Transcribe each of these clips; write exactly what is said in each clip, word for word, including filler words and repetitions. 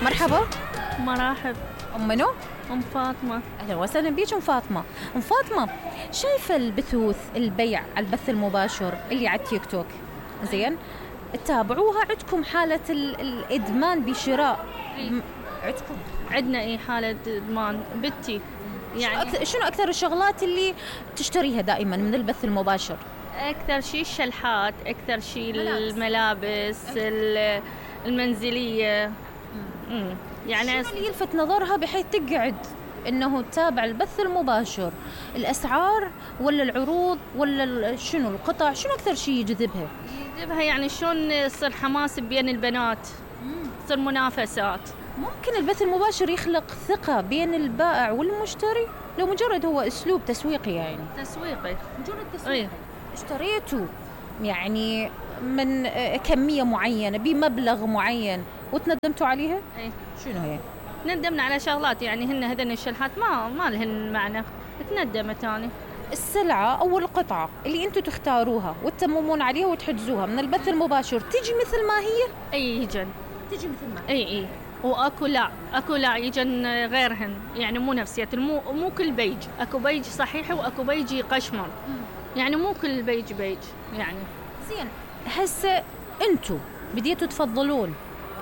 مرحبا. مراحب. ام منو؟ ام فاطمه. اهلا وسهلا بيك ام فاطمه. ام فاطمه، شايفه البثوث البيع على البث المباشر اللي على التيك توك زين؟ تتابعوها؟ عندكم حاله ال- الادمان بشراء؟ م- عندكم؟ عندنا اي حاله ادمان بنتي يعني يعني. أكثر شنو اكثر الشغلات اللي تشتريها دائما من البث المباشر؟ اكثر شيء الشلحات، اكثر شيء ملابس. الملابس ال- المنزليه. امم يعني شنو اللي يلفت نظرها بحيث تقعد انه تتابع البث المباشر؟ الاسعار ولا العروض ولا ال- شنو القطع؟ شنو اكثر شيء يجذبها؟ يجيبها يعني شلون يصير حماس بين البنات، تصير منافسات. ممكن البث المباشر يخلق ثقة بين البائع والمشتري لو مجرد هو اسلوب تسويقي يعني؟ تسويقي. مجرد اي اشتريته يعني من آه، كمية معينة بمبلغ معين وتندمتوا عليها؟ اي شنو هي؟ ندمنا على شغلات يعني هن هذن الشلحات ما ما لهن معنى، تندمت اني. السلعة أو القطعة اللي أنتوا تختاروها وتتممون عليها وتحجزوها من البث المباشر تجي مثل ما هي؟ اي يجن. تجي مثل ما هي. اي اي واكو لا اكو لا يجن غيرهن يعني مو نفسيات، مو مو كل بيج، اكو بيج صحيح واكو بيج يقشمر، يعني مو كل بيج بيج يعني. زين، هسه أنتوا بديتوا تفضلون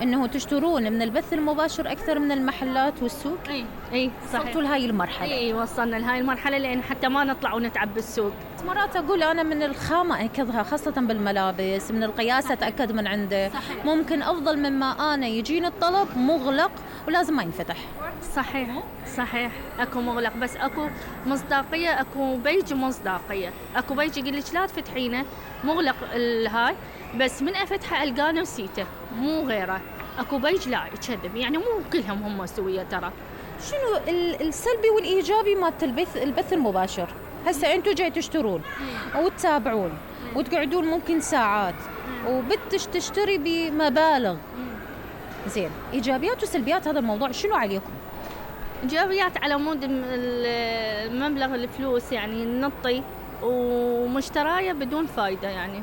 إنه تشترون من البث المباشر أكثر من المحلات والسوق؟ اي اي صحيح. وصلتوا لهاي المرحلة؟ اي اي وصلنا لهاي المرحله لان حتى ما نطلع ونتعب بالسوق. مرات أقول أنا من الخامة أكدها، خاصة بالملابس، من القياس أتأكد من عنده. صحيح. ممكن أفضل مما أنا يجيني الطلب مغلق ولازم ما ينفتح. صحيح صحيح. اكو مغلق بس اكو مصداقيه، اكو بيج مصداقيه، اكو بيج يقول لك لا تفتحينه مغلق الهاي بس من افتحه القاه نسيته مو غيره. اكو بيج لا يكذب، يعني مو كلهم هم سويه ترى. شنو ال- السلبي والإيجابي مالت البث البث المباشر؟ هسه أنتوا جاي تشترون وتتابعون وتقعدون ممكن ساعات وبتش تشتري بمبالغ. زين، إيجابيات وسلبيات هذا الموضوع شنو عليكم؟ ايجابيات على مود الم- ال- مبلغ الفلوس يعني نطي ومشترايه بدون فايده، يعني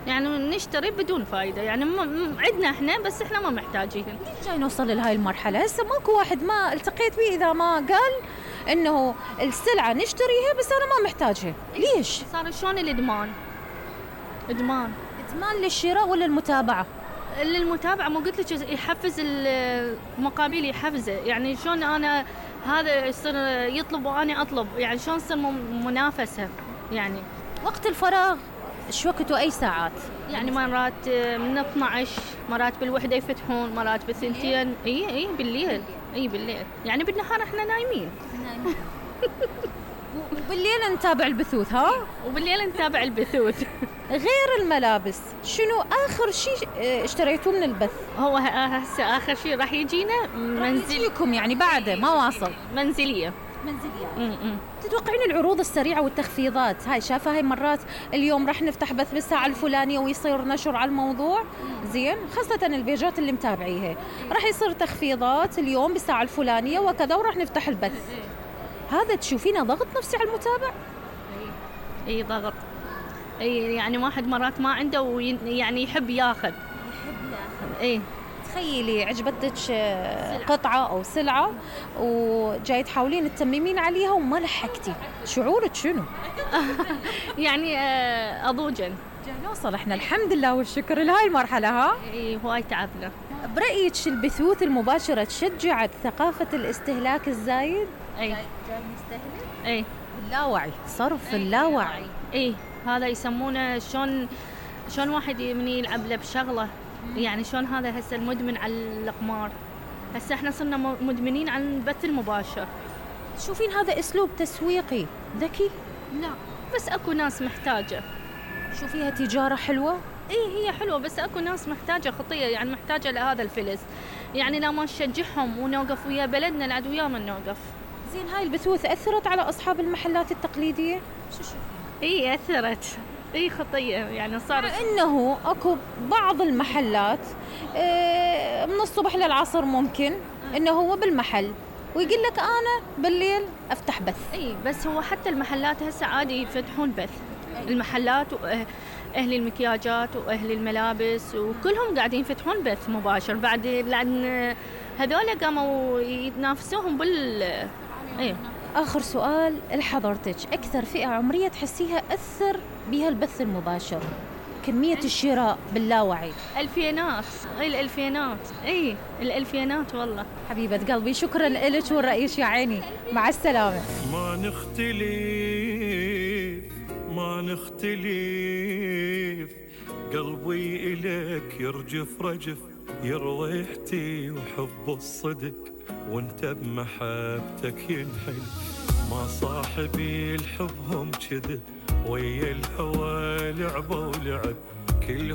يعني نشتري بدون فايده يعني م- م- عندنا احنا بس احنا ما محتاجين. جاي نوصل لهاي المرحلة. هسه ماكو واحد ما التقيت به إذا ما قال إنه السلعة نشتريها بس أنا ما محتاجها. ليش؟ صار شلون الادمان؟ ادمان إدمان للشراء ولا المتابعة؟ للمتابعه. ما قلت لك يحفز المقابل، يحفزه يعني شلون انا هذا يصير يطلب وانا اطلب، يعني شلون تصير م- منافسه يعني. وقت الفراغ شو وقته؟ أي ساعات؟ يعني مرات من اثنعش، مرات بالوحده يفتحون، مرات بالثنتين. اي اي بالليل. اي بالليل يعني بالنهار احنا نايمين. وبالليل نتابع البثوث ها؟ وبالليل نتابع البثوث. غير الملابس شنو آخر شيء اه، اشتريتوه من البث؟ هو هسه اخر شيء راح يجينا منزل منزلكم يعني بعده ما واصل؟ منزليه. منزلية. امم تتوقعين العروض السريعة والتخفيضات هاي شافها هاي مرات اليوم راح نفتح بث بالساعة الفلانية ويصير نشر على الموضوع زين، خاصة البيجات اللي متابعيها راح يصير تخفيضات اليوم بالساعة الفلانية وكذا وراح نفتح البث. هذا تشوفينه ضغط نفسي على المتابع؟ اي ضغط. اي يعني واحد مرات ما عنده ويعني يحب ياخذ. يحب ياخذ. اي تخيلي عجبتك آه، قطعة أو سلعة وجاي تحاولين تتممين عليها وما لحقتي، شعورك شنو؟ يعني آه، اضوجن. جاي نوصل احنا الحمد لله والشكر لهاي المرحلة ها؟ اي هواي تعبنا. برأيك البثوث المباشرة تشجعت ثقافة الاستهلاك الزايد؟ اي جاي نستهلك؟ اي اللاوعي، صرف اللاوعي. اي هذا يسمونه شلون شلون واحد من يلعب له بشغله، يعني شلون هذا هسه المدمن على القمار. هسه احنا صرنا م- مدمنين على البث المباشر. تشوفين هذا أسلوب تسويقي ذكي؟ لا بس اكو ناس محتاجه. شوفيها تجارة حلوة؟ اي هي حلوه بس اكو ناس محتاجه خطيه، يعني محتاجه لهذا الفلس، يعني لما نشجعهم ونوقف ويا بلدنا العد ويا ما نوقف. زين، هاي البثوث أثرت على أصحاب المحلات التقليدية؟ شو شوفين؟ اي اثرت. اي خطيه يعني صار. إنه أكو بعض المحلات آه، من الصبح للعصر ممكن إنه هو بالمحل ويقول لك أنا بالليل أفتح بث. اي بس هو حتى المحلات هسه عادي يفتحون بث. المحلات و... أهل المكياجات وأهل الملابس وكلهم قاعدين يفتحون بث مباشر بعد، لأن هذول قاموا يتنافسوهم بال إيه. آخر سؤال لحضرتك، أكثر فئة عمرية تحسيها أثر بها البث المباشر؟ كمية الشراء باللاوعي. الفينات، اي الالفينات، اي الالفينات والله. حبيبة قلبي شكرا لك والرئيس يا عيني، مع السلامة. ما نختلف ما نختلف، قلبي إليك يرجف رجف، يرويحتي وحب الصدق وانت بمحبتك ينحل. ما صاحبي الحب هم كذب، ويا الهوى لعبة ولعب، كلهم